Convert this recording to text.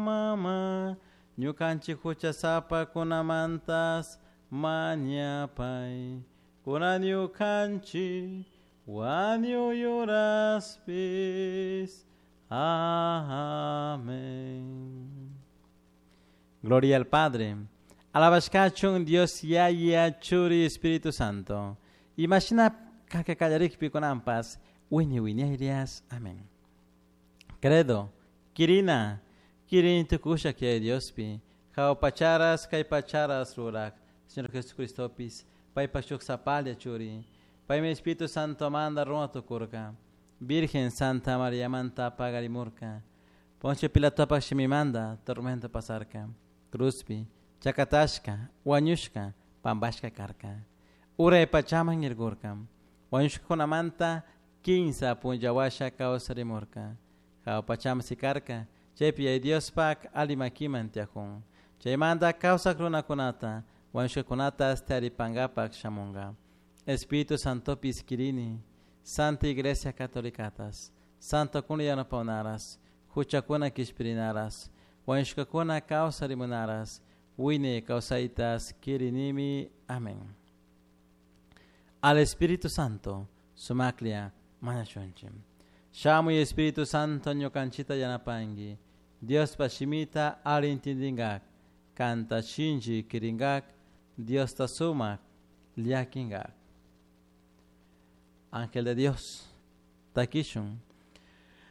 mama, ñukanchik huchasapakunamantas mañapay, kunan ñukanchik wañuy uraspis. Amén. Gloria al Padre. Alabashkachun Dios Yaya Churi Espíritu Santo. Imashina kakakallarikpi kunanpas wiñay wiñayrias. Amén. Credo, Kirina, Kirin tukusha que Diospi, Jao pacharas kay pacharas rurak, Señor Jesucristopis, paypak shuk sapalla churi, paymi Espíritu Santo manda runa tukurka, Virgen Santa María manta pagarimurka, Poncio Pilatopak shimimanda tormento pasarka, Cruzpi, chakatashka, wañushka, pampashka karka, Uray pachaman irgurka, wañushkakunamanta kinsa punlla washa kawsarimurka, Jao pachaman sikarka, chaypi Yaya Diospak ali makiman tiyakun. Chaymanta kawsak runakunata, wañushkakunatas taripankapak shamunka. Espíritu Santopis kirini, Santa Iglesia Catolicatas, Santo kuna yanapawnaras, huchakuna kishpirinaras, wañushkakuna kawsarimunaras, wiñay kawsaytas kirinimi. Amén. Al Espíritu Santo, sumaklla mañashunchik. Shamuy Espíritu Santo ñukanchita yanapanki, Diospa shimita alli intindingak, kanta shinchi kiringak, Diosta sumak llakinkak. Ángel de Dios, takishun.